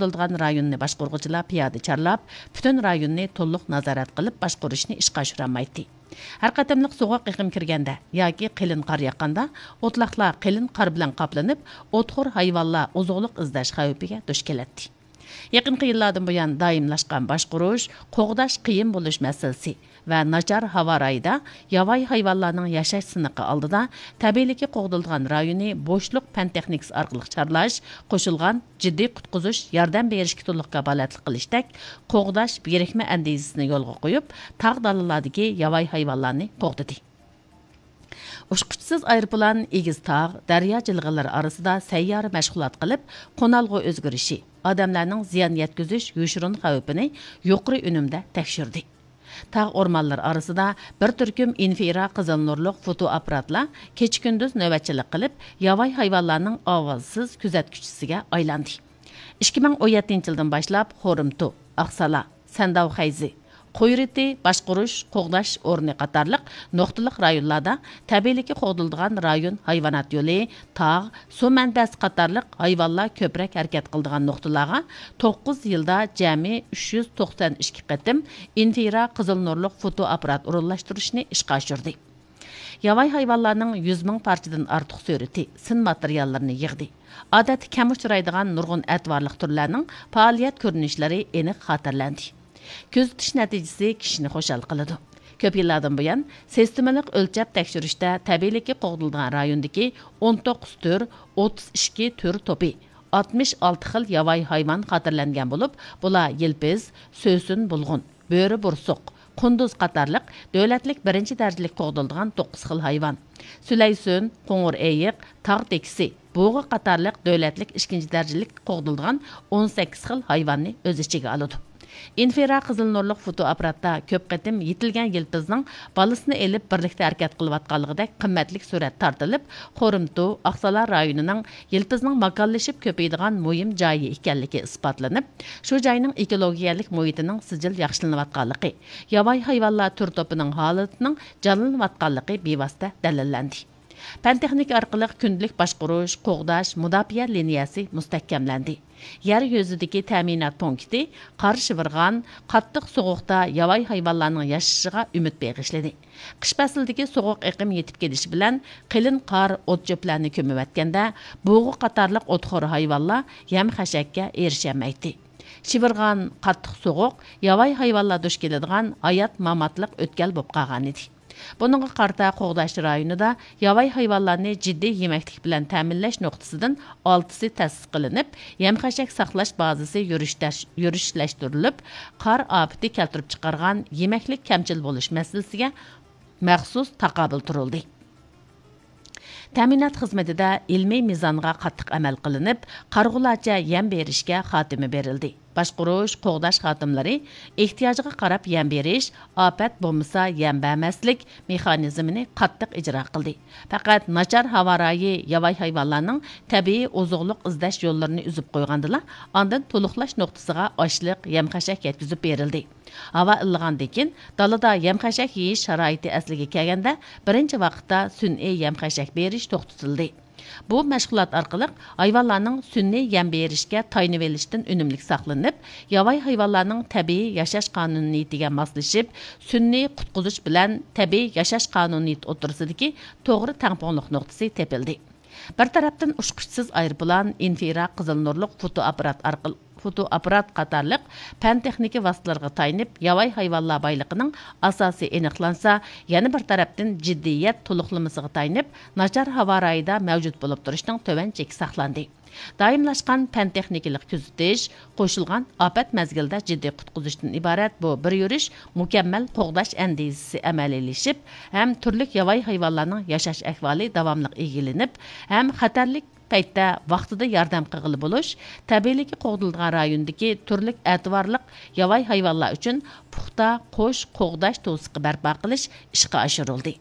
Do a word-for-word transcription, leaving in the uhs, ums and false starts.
قوغدىلىدىغان رايوننى باشقۇرغۇچىلار پىيادە چارلاپ، پۈتۈن رايوننى تولۇق نازارەت قىلىپ باشقۇرۇشنى ئىشقا ئاشۇرالمايتتى. ھەر قېتىملىق سوغۇق ئېقىم كىرگەندە ياكى قېلىن قار ياغقاندا، ئوتلاقلار قېلىن قار بىلەن قاپلىنىپ، ئوتخور ھايۋانلار ئوزۇقلۇق ئىزدەش خەۋپىگە دۇچ كېلەتتى. يېقىنقى يىللاردىن بۇيان دائىملاشقان باشقۇرۇش، قوغداش قىيىن بولۇش مەسىلىسى ۋە ناچار ھاۋا رايىدا ياۋايى ھايۋانلارنىڭ ياشاش سىنىقى ئالدىدا، تەبىئىيلىكى قوغدىلىدىغان رايونى بوشلۇق پەن تېخنىكىسى ئارقىلىق چارلاش، قوشۇلغان جىددىي قۇتقۇزۇش، ياردەم بېرىشكە تولۇق كاپالەتلىك قىلىشتەك قوغداش بىرىكمە ئەندىزىسىنى يولغا قويۇپ، تاغ دالىلاردىكى ياۋايى ھايۋانلارنى قوغدىدى. ئۇچقۇچىسىز ئايروپىلان ئېگىز تاغ، دەريا جىلغىلىرى ئارىسىدا سەييارە مەشغۇلات قىلىپ، قونالغۇ ئۆزگىرىشى، ئادەملەرنىڭ زىيان يەتكۈزۈش يوشۇرۇن خەۋپىنى يۇقىرى ئۈنۈمدە تەكشۈردى. تاغ ئورمانلىرى ئارىسىدا بىر تۈركۈم ئىنفرا قىزىل نۇرلۇق فوتو ئاپپاراتلار كېچە-كۈندۈز نۆۋەتچىلىك قىلىپ، ياۋايى ھايۋانلارنىڭ ئاۋازسىز كۆزەتكۈچىسىگە ئايلاندى. ئىككى مىڭ ئون يەتتىنچى يىلدىن باشلاپ خورۇمتۇ، ئاقسالا، سەنداۋ خەيزى، قويرىتى باشقۇرۇش، قوغداش ئورنى قاتارلىق نۇقتىلىق رايونلاردا تەبىئىيلىكى قوغدىلىدىغان رايون ھايۋانات يولى، تاغ، سۇ مەنبەسى قاتارلىق ھايۋانلار كۆپرەك ھەرىكەت قىلىدىغان نۇقتىلارغا توققۇز يىلدا جەمئىي ئۈچ يۈز توقسان ئىككى قېتىم ئىنفرا قىزىل نۇرلۇق فوتو ئاپپارات ئورۇنلاشتۇرۇشنى ئىشقا ئاشۇردى. ياۋايى ھايۋانلارنىڭ يۈز مىڭ پارچىدىن ئارتۇق سۈرىتى، سىن ماتېرىياللىرىنى يىغدى. ئادەتتە كەم ئۇچرايدىغان نۇرغۇن ئەتىۋارلىق تۈرلەرنىڭ پائالىيەت كۆرۈنۈشلىرى ئېنىق خاتىرىلەندى. كۆزىتىش نەتىجىسى كىشىنى خۇشال قىلىدۇ. كۆپ يىللاردىن بۇيان سىستېمىلىق ئۆلچەپ تەكشۈرۈشتە تەبىئىيلىكى قوغدىلىدىغان رايوندىكى ئون توققۇز تۈر، ئوتتۇز ئىككى تۈر توپى، ئاتمىش ئالتە خىل ياۋايى ھايۋان خاتىرىلەنگەن بولۇپ، بۇلار يىلپىز، سۆسۈن بۇلغۇن، بۆرە بورسۇق، قۇندۇز قاتارلىق دۆلەتلىك بىرىنچى دەرىجىلىك قوغدىلىدىغان توققۇز خىل ھايۋان، سۈلەيسۈن، قوڭۇر ئېيىق، تاغ تېكىسى، بۇغا قاتارلىق دۆلەتلىك ئىككىنچى دەرىجىلىك قوغدىلىدىغان ئون سەككىز خىل ھايۋاننى ئۆز ئىچىگە ئالىدۇ. ئىنفرا قىزىل نۇرلۇق فوتو ئاپپاراتتا كۆپ قېتىم يېتىلگەن يىلپىزنىڭ بالىسىنى ئېلىپ بىرلىكتە ھەرىكەت قىلىۋاتقانلىقىدەك قىممەتلىك سۈرەت تارتىلىپ، خورۇمتۇ، ئاقسالا رايونىنىڭ يىلپىزنىڭ ماكانلىشىپ كۆپىيىدىغان مۇھىم جايى ئىكەنلىكى ئىسپاتلىنىپ، شۇ جاينىڭ ئېكولوگىيەلىك مۇھىتىنىڭ سىجىل ياخشىلىنىۋاتقانلىقى، ياۋايى ھايۋانلار تۈر توپىنىڭ ھالىتىنىڭ جانلىنىۋاتقانلىقى بىۋاسىتە دەلىللەندى. پەن تېخنىكا ئارقىلىق كۈندىلىك باشقۇرۇش، قوغداش، مۇداپىئە لىنىيەسى مۇستەھكەملەندى. يەر يۈزىدىكى تەمىنات پونكىتى قار شىۋىرغان، قاتتىق سوغۇقتا ياۋايى ھايۋانلارنىڭ ياشىشىغا ئۈمىد بېغىشلىدى. قىش پەسلىدىكى سوغۇق ئېقىم يېتىپ كېلىشى بىلەن، قېلىن قار ئوت-چۆپلەرنى كۆمۈۋەتكەندە، بۇغا قاتارلىق ئوتخور ھايۋانلار يەم-خەشەككە ئېرىشەلمەيتتى. شىۋىرغان، قاتتىق سوغۇق ياۋايى ھايۋانلار دۇچ كېلىدىغان ھايات-ماماتلىق ئۆتكەل بولۇپ قالغانىدى. بۇنىڭغا قارىتا، قوغداش رايونىدا ياۋايى ھايۋانلارنى جىددىي يېمەكلىك بىلەن تەمىنلەش نۇقتىسىدىن ئالتىسى تەسىس قىلىنىپ، يەم-خەشەك ساقلاش بازىسى يۈرۈشلەش-، يۈرۈشلەشتۈرۈلۈپ، قار ئاپىتى كەلتۈرۈپ چىقارغان يېمەكلىك كەمچىل بولۇش مەسىلىسىگە مەخسۇس تاقابىل تۇرۇلدى. تەمىنات خىزمىتىدە ئىلمىي مىزانغا قاتتىق ئەمەل قىلىنىپ، قارىغۇلارچە يەم بېرىشكە خاتىمە بېرىلدى. باشقۇرۇش، قوغداش خادىملىرى ئېھتىياجغا قاراپ يەم بېرىش، ئاپەت بولمىسا يەم بەرمەسلىك مېخانىزمىنى قاتتىق ئىجرا قىلدى. پەقەت ناچار ھاۋا رايى ياۋايى ھايۋانلارنىڭ تەبىئىي ئوزۇقلۇق ئىزدەش يوللىرىنى ئۈزۈپ قويغاندىلا، ئاندىن تولۇقلاش نۇقتىسىغا ئاشلىق، يەم-خەشەك يەتكۈزۈپ بېرىلدى. ھاۋا ئىللىغاندىن كېيىن، دالىدا يەم-خەشەك يېيىش شارائىتى ئەسلىگە كەلگەندە، بىرىنچى ۋاقىتتا سۈنئىي يەم-خەشەك بېرىش توختىتىلدى. بۇ مەشغۇلات ئارقىلىق ھايۋانلارنىڭ سۈنئىي يەم بېرىشكە تايىنىۋېلىشتىن ئۈنۈملۈك ساقلىنىپ، ياۋايى ھايۋانلارنىڭ تەبىئىي ياشاش قانۇنىيىتىگە ماسلىشىپ، سۈنئىي قۇتقۇزۇش بىلەن تەبىئىي ياشاش قانۇنىيىتى ئوتتۇرىسىدىكى توغرا تەڭپۇڭلۇق نۇقتىسى تېپىلدى. بىر تەرەپتىن ئۇچقۇچىسىز ئايروپىلان، ئىنفرا قىزىل نۇرلۇق فوتو ئاپپارات ئارقىلىق، فوتو ئاپپارات قاتارلىق پەن-تېخنىكا ۋاسىتىلىرىغا تايىنىپ، ياۋايى ھايۋانلار بايلىقىنىڭ ئاساسى ئېنىقلانسا، يەنە بىر تەرەپتىن جىددىيەت تولۇقلىمىسىغا تايىنىپ، ناچار ھاۋا رايىدا مەۋجۇت بولۇپ تۇرۇشنىڭ تۆۋەن چېكى ساقلاندى. دائىملاشقان پەن-تېخنىكىلىق كۆزىتىش، قوشۇلغان ئاپەت مەزگىلىدە جىددىي قۇتقۇزۇشتىن ئىبارەت بۇ بىر يۈرۈش مۇكەممەل قوغداش ئەندىزىسى ئەمەلىيلىشىپ ھەم تۈرلۈك ياۋايى ھايۋانلارنىڭ ياشاش ئەھۋالى داۋاملىق ئىگىلىنىپ ھەم خەتەرلىك پەيتتە ۋاقتىدا ياردەم قىلغىلى بولۇش، تەبىئىيلىكى قوغدىلىدىغان رايوندىكى تۈرلۈك ئەتىۋارلىق ياۋايى ھايۋانلار ئۈچۈن پۇختا قوش قوغداش توسۇقى بەرپا قىلىش ئىشقا ئاشۇرۇلدى.